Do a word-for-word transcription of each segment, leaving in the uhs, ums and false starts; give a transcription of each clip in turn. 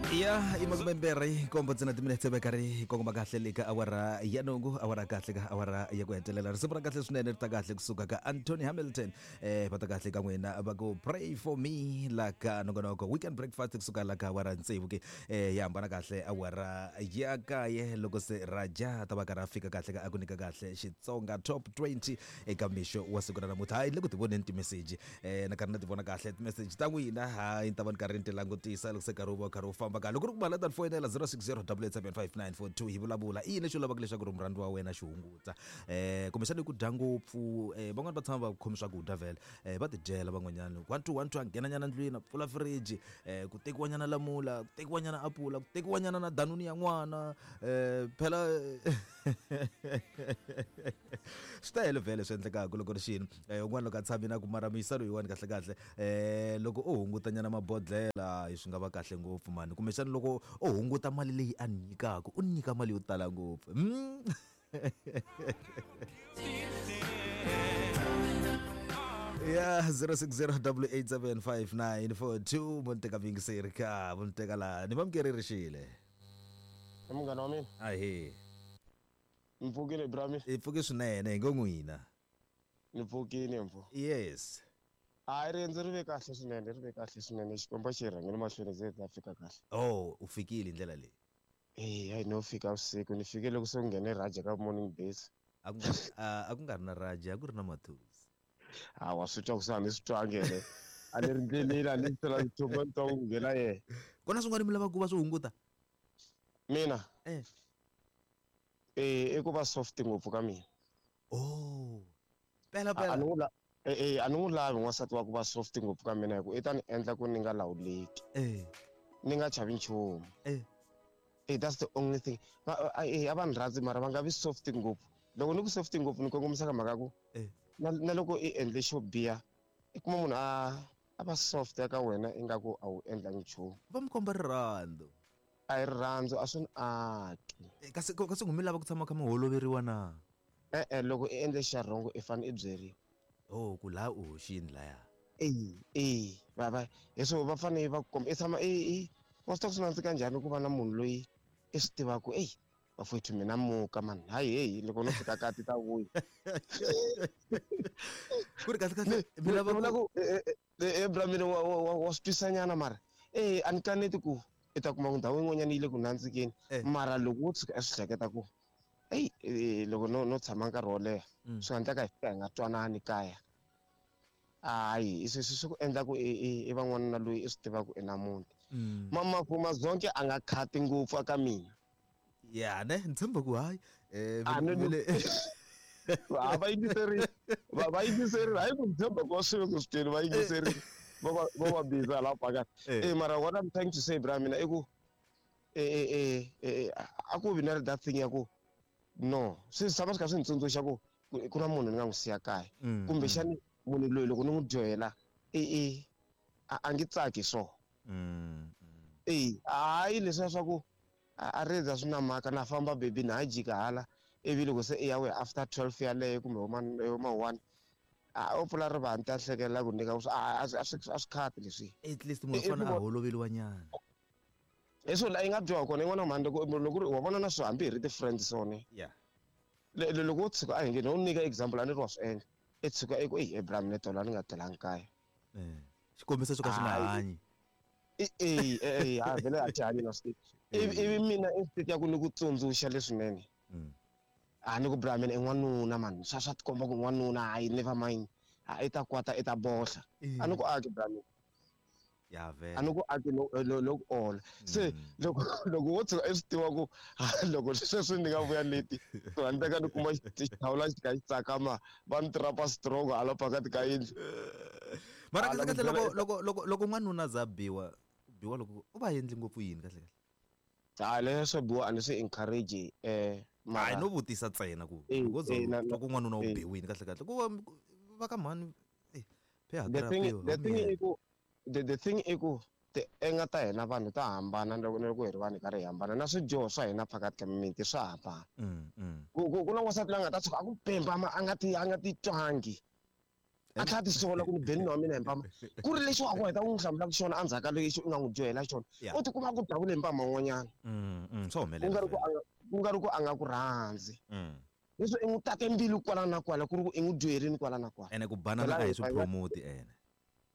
Ya i makume mbirhi nkombo ntsena timinetse va karhi kongoma kahle le ka awara ya nhungu, awara kahle ka awara ya ku hetelela. Risimu ra kahle swinene ri ta kahle kusuka ka Anthony Hamilton, eh va ta kahle ka n'wina va ku "Pray for Me" la ka nongonoko Weekend Breakfast kusuka la ka awara tsevu ke eh ya hambana kahle awara ya kaye loko se Raja ta va karhi a fika kahle ka a ku nyika kahle Xitsonga Top twenty eka mixo wa siku ra namuntlha. Hayi, le ku ti voneni timeseji, eh na karhi na ti vona kahle timeseji ta n'wina. Hayi, ni ta va ni karhi ni ti langutisa loko se karhi wu va karhi wu famba kahle. Loko ri ku mali ta ni foyinela zero six zero double eight seven five nine four two, hi vulavula i yini lexi u lavaka leswaku ri murhandzi wa wena xi hunguta, eh kumbexana i ku dya ngopfu. eh van'wani va tshama va khomi swakudya vhele, eh va tidyela van'wanyana one two one two, a nghena nyana ndlwini, a pfula fridge, eh ku tekiwa nyana lamula, ku tekiwa nyana apula, ku tekiwa nyana na danuni ya n'wana. eh phela swi tele vhele swi endlekaka loko ri xini. eh un'wana loko a tshami na ku mara muyisa loyiwani kahle kahle, eh loko u hunguta nyana mabodlela swi nga va kahle ngopfu mani, kumbexana loko u hunguta mali leyi a ni nyikaka, u ni nyika mali yo tala ngopfu. mm. ya zero six zero eight eight seven five nine four two, mo ni teka muyingiseri ka mo ni teka laha ni vamukeri rixile. I munghana wa mina. Ahe. Ni pfukile, brami. I pfuke swinene, hi ngo n'wina. Ni pfukile mfo. Yes. Hayi, riendzo ri ve kahle swinene, ri ve kahle swinene. Xikwembu xi hi rhangele mahlweni, ze hi ta fika kahle. Oh, u fikile hi ndlela leyi? Eya, hayi, no fika vusiku, ni fike loko se ku nghene Raja ka Morning Base. A ku nga a a ku nga ri na Raja, a ku ri na Mathusi. Hawa, swi twa ku se a ni swi twangi ene a ni ri ndleleni, a ni swi nchumu, ni twa ku nghena yena. Kona swin'wana mi lava ku va swi hunguta? Mina? Eh. Eh, i ku va soft ngopfu ka mina. Oh, pela. A Pela. ni n'wi la eh eh a ni n'wi lavi n'wansati wa ku va soft ngopfu ka mina, hi ku i ta ni endla ku ni nga lawuleki, eh ni nga chavi nchumu. eh Eh that's the only thing. Va eh a va ni rhandzi, mara va nga vi soft ngopfu. Loko ni ku soft ngopfu, ni kongomisa ka mhaka ku eh na, na loko i endle xo biha, i kuma munhu a a va soft ka wena ingaku a wu endlangi nchumu. Va mi komba rirhandzu. A hi rirhandzu, a swi ni aki. Eh, kasi kasi mi lava ku tshama kha mi holoveriwa na? E-e, loko i endle xa wrong, i fanele i byeriwa. Oh, ku laha u hoxini laya. E e va va hi swo va fanele va ku komba i tshama i i wa swi tiva ku swi nandzika njhani ku va na munhu loyi i swi tivaka, eyi bafowethu, mina muka mani, hayi, heyi, loko no fika kati ta vuya. Ku ri kahle kahle mi lava vula ku ku e bra mina wa wa wa swi twisanyana, mara eh a ni kaneti ku i ta kuma ku ndhawu yin'wanyana yi le ku nandzikeni. Eh. Mara loko wo tshuka i swi hleketa ku eyi, eh, loko no no tshama nkarhi wo leha, Mm. swi nga endleka hi fika hi nga twanani kaya, hayi, swi swi swi ku endla ku i i i va n'wanuna loyi i swi tivaka i na muti. Mm. Mamafu mazonke a nga khati ngopfu aka mina. Ya ne, ni tshemba ku hayi, eh A ni- vele. Va va yingiserile, va va yingiserile, hayi ku ni tshemba ku va swi ve ku swi tweli, va yingiserile, va va va va busy hala pakani. Eh. Eh mara what I'm trying to say, bra mina, i ku eh eh eh eh a ku vi na that thing ya ku no swi tshama swi kha swi ni tsundzuxa ku ku ku na munhu ni nga n'wi siya kaya, Mm, kumbexani munhu loyi loko ni n'wi dyohela i i a a ngi tsaki so. mm, mm. Eh, hayi, leswiya swa ku a a rindza swi na mhaka, na famba baby, na ha jika hala, ivi loko se i ya we after twelve yaleyo kumbe homa homa one, a u pfula rivanti, a hlekelela ku nyika a a a swi a swi khati leswi. At least munhu Eh, eh, u fanele a ku- holoveliwa nyana. Hi swo la yi nga dyoha kona yin'wana mhani, loko loko ri wa vona na swo hambi hi ri ti-friends sone. Yeah Le- le- loko wo tshuka, a hi nge no nyika example, a ni ri wa swi endla, i tshuka i ku eyi, ebra mina tolo a ni nga telangi kaya. eh xikombiso xo ka xi nga Hayi. hanyi. I- e e ha vhele a ti hanyi na swi ivi ivi mina instead ya ku ni ku tsundzuxa leswinene, Mm. a ni ku bra mina i n'wanuna mani, swa swa tikomba ku n'wanuna, hayi, never mind, a i ta kwata, i ta bohla. Eh. A ni ku aki, bra mina. Ya A vele. ni ku aki, no no no ku ola se. Mm. Loko loko wo tshuka i swi tiva ku ha, loko sweswi ni nga vuya leti, swi nga endleka ni kuma xithawula xi kha xi tsakama, va ni trapa strong hala phakathi ka yindlu. Mara Ah, kahle loko kahle byela loko eka- loko loko loko n'wanuna a za biwa biwa, loko u va endli ngopfu yini kahle kahle? Hayi, leswi swo biwa a ni swi encourage, eh Hayi, mara no vutisa ntsena ku Eh, loko ze eh, na- twa ku n'wanuna u eh. biwini kahle kahle, ku va va ka mhani eh phe the thing hakela. the thing i ku the, the thing i ku tienga ta hina vanhu ta hambana, loko loko hi ri vanhu hi karhi hi hambana, na swidyoho swa hina phakathi ka mimiti swa hambana. mm mm ku ku ku na n'wansati loyi a nga ta tshuka a ku pemba, ma a nga ti a nga ti twangi. A tlhela tisola ku ni beni wa mina hi mpama ku ri lexi wa ku heta u n'wi hlamulaka xona endzhaku ka lexi u nga n'wi dyohela xona u tikuma ku davule hi mpama wun'wanyana swa ku nga ri ku a ku nga ri ku a nga ku rhandzi leswi i n'wi tate mbilu kwala na kwala ku ri ku i n'wi dyoherini kwala na kwala ene ku banana a hi swi promote ene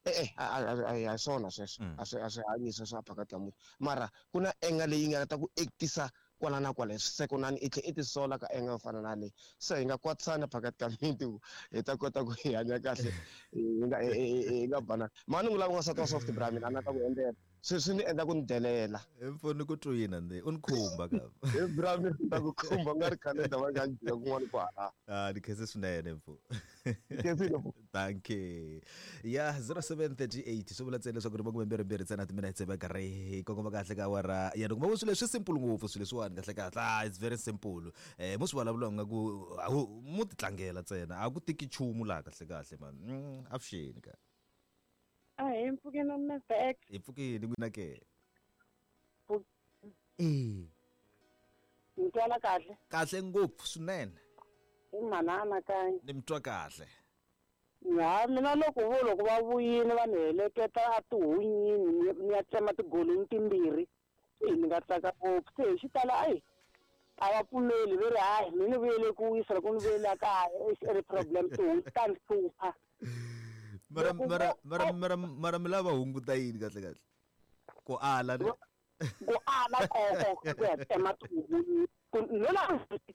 e-e a hi swona sweswo a swi a swi hanyisa swa phakati ka munhu mara ku na enga leyi nga ta ku actisa kwala na kwala hi swisekonani i tlhe i tisola ka enga yo fana na leyi se hi nga kwatisana phakati ka miti hi ta kota ku hi hanya kahle hi nga hi nga banana mhani n'wi lava n'wansati wa soft bra mina a na ta ku endlela swi swi ni endla ku ni delela mfoni ku twina nde u ni khumba ka hi bra mina ta ku khumba nga ri khale ta va nga jika kun'wana kwala ah ni khense swinene mfo khensile mfo thank you ya zero seven thirty eight swi vula ntsena leswaku ri makume mbirhi mbirhi ntsena timinetse va karhi hi kongoma kahle ka awara ya loko ma swilo leswi simple ngopfu swilo leswiwani kahle kahle ah it's very simple eh mo swi vulavula nga ku mo ti tlangela ntsena a ku tiki nchumu laha kahle kahle man avuxeni ka a hi mpfukeni na Mister X hi pfukeni n'wina ke eh ni twala kahle kahle ngopfu swinene i mhana anakanya ni mi twa kahle ha mina loko vo loko va vuyile va ni heleketa a tihunyini ni ya tsema tigolonyi timbirhi se ni nga tsaka ngopfu se hi xitalo ayi a va pfumeli ve ri hayi mi ni vuyele ku wisa loko ni vuyele a kaya i ri problem tihunyi ta ni hlupha mara mara mara mara mara mi lava hunguta yini kahle kahle ku ala ku ala koko ku ya tsema tihunyi no la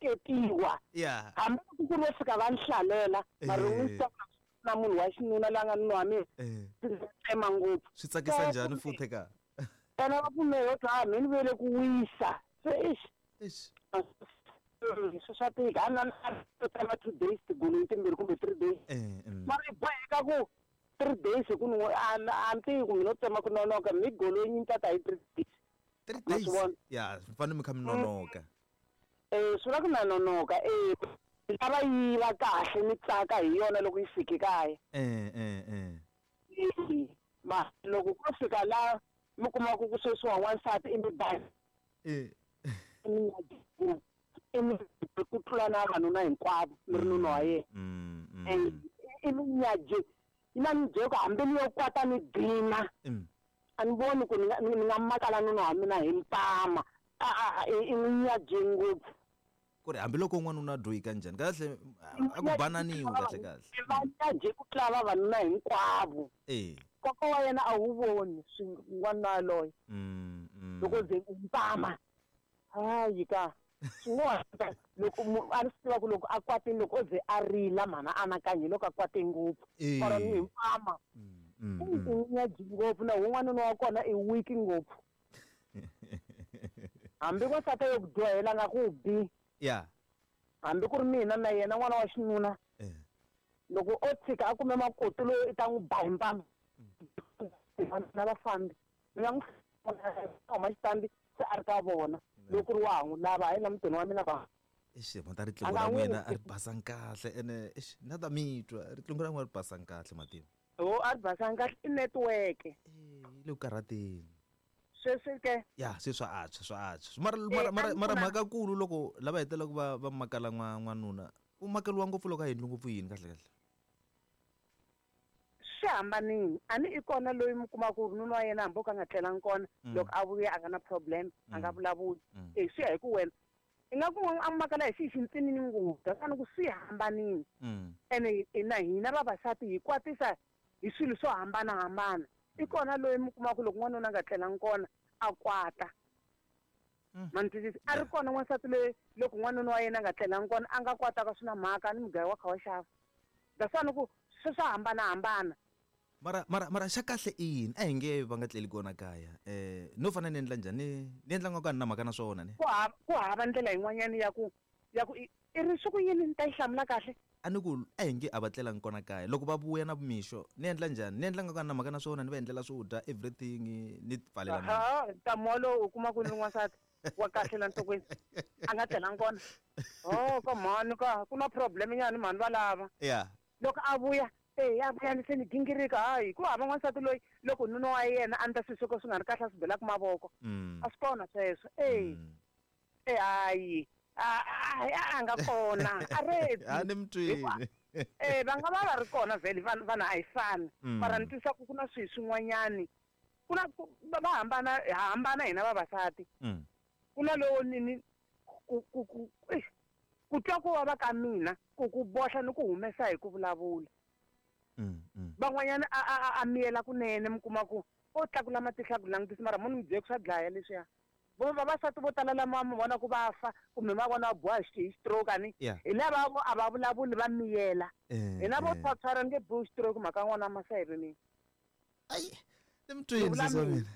ketiwa yeah hambi ku ri vo fika va ni hlalela mara n'wi na munhu wa xinuna la nga nuna wa mina tsema ngopfu swi tsakisa njhani futhi ka ene va pfumela ku ha mi ni vuyele ku wisa se ixi ixi swi swa tika a na tsema two days tigolonyi timbirhi kumbe three days mara i boheka ku three days hi ku ni a ni tivi ku mi no tsema ku nonoka mi golonyi ni tata hi three days three days ya fanele mi kha mi nonoka eh swi vula ku na nonoka eh lava yi va kahle mi tsaka hi yona loko yi fike kaya eh eh eh ma loko ko fika la mi kuma ku ku sweswiwa n'wansati i mi ba eh i mi ku tlula na vavanuna hinkwavo mi ri nuna wa yena i mi nyaje yi na ni byela ku hambi ni yo kwata ni dina a ni voni ku ni nga ni nga makala nuna wa mina hi mpama a i n'wi nyaje ngopfu ku ri hambiloko n'wanuna a dyohika njhani kahle a ku bananiwi kahle kahle va nyaje ku tlula vavanuna hinkwavo eh nkoka wa yena a wu voni n'wanuna yaloye loko ze mpama hayi ka swin'wana loko a ni swi tiva ku loko a kwatile loko o ze a rila mhana anakanya loko a kwate ngopfu or ni hi mpama i nyaji ngopfu na wun'wanuna wa kona i weak ngopfu hambi n'wansati yo ku dyohela nga ku bi ya hambi ku ri mina na yena n'wana wa xinuna loko o tshika a kume makoti loyi i ta n'wi ba hi mpama na vafambi ni nga n'wi huma xitandi se a ri ka vona loko ri wa ha n'wi lava hayi na mutini wa mina va ixi mhata riqingho ra n'wina a ri basanga kahle ene ixi na ta mi twa riqingho ra n'wina ri basanga kahle mativa ho a ri basanga kahle i network yi le ku karhateni sweswi ke ya se swa antswa swa antswa mara mara mara mara mhaka kulu loko lava hetelelaka va va makala n'wanuna u makeliwa ngopfu loko a endli ngopfu yini kahle kahle swi hambanile a ni i kona loyi mi kuma ku nuna wa yena hambi o ka nga tlelangi kona loko a vuya a nga na problem a nga vulavuli e swi ya hi ku wena i nga ku a makala hi xihi xintsinini ngopfu that's ku swi hambanile ene na hina vavasati hi kwatisa hi swilo swo hambanahambana i kona loyi mi kuma ku loko n'wanuna a nga tlelangi kona a kwata ma ni twisisa a ri kona n'wansati loyi loko n'wanuna wa yena a nga tlelangi kona a nga kwataka swi na mhaka ni mugayo wa kha wa xava that's ku swi swa hambanahambana mara mara mara xa kahle i yini a hi nge va nga tleli kona kaya eh no fanele ni endla njhani ni endla nga ka ni na mhaka na swona ne ku hava ku hava ndlela yin'wanyana ya ku ya ku i ri swi ku yini ni ta yi hlamula kahle a ni ku a hi nge a va tlelangi kona kaya loko va vuya na mixo ni endla njhani ni endla nga ka ni na mhaka na swona ni va endlela swo dya everything ni pfalela ha ntamu walowo u kuma ku ni n'wansati wa kahle la nhlokweni a nga tlelangi kona oh ka mhani ka ku na problem nyana mhani va lava ya loko a vuya e ya vuya ni se ni gingirika hayi ku hava n'wansati loyi loko nuna wa yena a ndla swilo swo ka swi nga ri kahle a swi belaka mavoko a swi kona sweswo e e hayi a a nga kona a reti a ni mi twini Eh va nga va va ri kona vhele vanhu vanhu a hi fani. Mm. Mara ni twisisa ku ku na swilo swin'wanyani. Ku na ku va va hambana ha hambana hina vavasati. Mm. Ku na lowo ni ni ku ku ku eish, ku twa ku vava ka mina ku ku bohla ni ku humesa hi ku vulavula. Mm, mm. Van'wanyana a a a, a miyela kunene mi kuma ku o tlakula matihlo a ku langutisa mara munhu mi byele ku swa dlaya leswiya. Vo vavasati vo tala lama mi vona ku va fa kumbe ma vona va boha hi stroke ani Yeah. hi lava vo a va vulavuli va miyela. Eh, Hina vo eh. phaphara nge bohi stroke mhaka n'wana maseve mina. Ai, ni mi twini Vula sesi wa mina.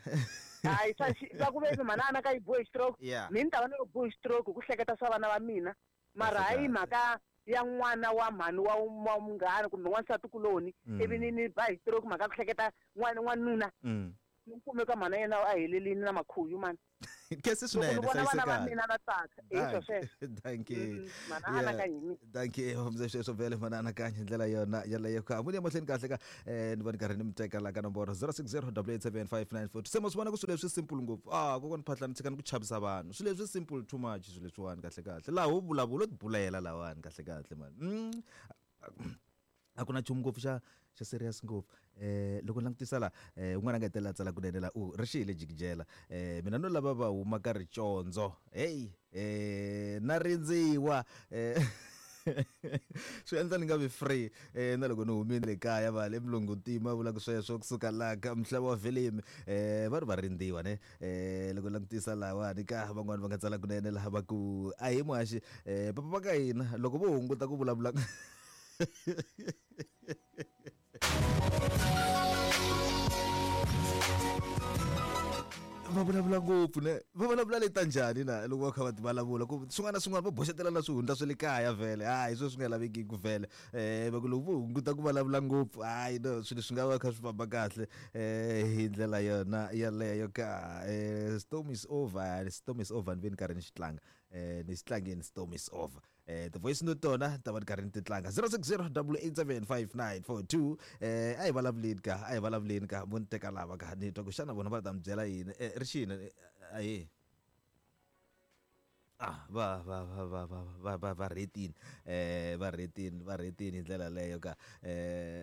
mina. Hayi swa xi va ku ve mhana a na ka yi bohi stroke. Yeah. Mina ni ta va ni bohi stroke hi ku hleketa swa vana va mina. Mara Kahle hayi kahle. mhaka ya n'wana wa mhani wa wa munghana kumbe n'wansati kuloni Mm. ivi ni ni ba hi stroke mhaka ku hleketa n'wana n'wanuna Mm. ni kume ka mhana yena a helelini na makhuyu mani. Khensi Loko swinene ni vona vana va hlayisekani. mina na tsaka hi swo sweswo. Dankie. Mm, mhana Yeah. anakanya hi mina. Dankie mze sweswo vhele mana anakanya hi ndlela yona yaleyo ka muni emahlweni kahle ka eh ni vona karhi ni mi teka la ka nomboro zero six zero double eight seven five nine four two se ma swi vona ku swilo leswi simple ngopfu ah kokwani Phahlane tshikani ku chavisa vanhu swilo leswi simple too much swilo leswiwani kahle kahle laha wo vulavula u tibulela lawani kahle kahle mani mm. A ku na nchumu ngopfu xa xa serious ngopfu eh loko ni langutisa la eh un'wana a nga hetelela a tsala kunene la u ri xile jikijela eh mina no lava va huma ka ricondzo hey eh na rindziwa eh swi endla ni nga vi free eh na loko ni humile le kaya va le mulungutima vulaka sweswo kusuka laha ka mhlava wa velimi eh va ri va rindziwa ne eh loko langutisa lahawani ka van'wani va nga tsala kunene laha va ku a hi muhaxi eh papa va ka hina loko vo hunguta ku vulavula va vulavula ngopfu ne va vulavula leta njhani na loko va kha va ti vulavula ku swin'wana na swin'wana va boxetela na swihundla swa le kaya vhele hayi sweswi swi nga lavekiki vhele um va ku loko vo hunguta ku vulavula ngopfu hayi no swilo swi nga va kha swi famba kahle um hi ndlela yona yaleyo ka um storm is over storm is over ni ve ni karhi ni xi tlanga um ni xi tlangeni storm is over eh ti-voice note tona ta va ni karhi ni ti tlanga zero six zero double eight seven five nine four two eh a hi vulavuleni ka a hi vulavuleni ka vo ni teka lava ka ni twa ku xana vona va ta mi byela yini eh ri xini ahe ah va va va va va va va va rhetini eh va rhetini va rhetini hi ndlela leyo ka eh.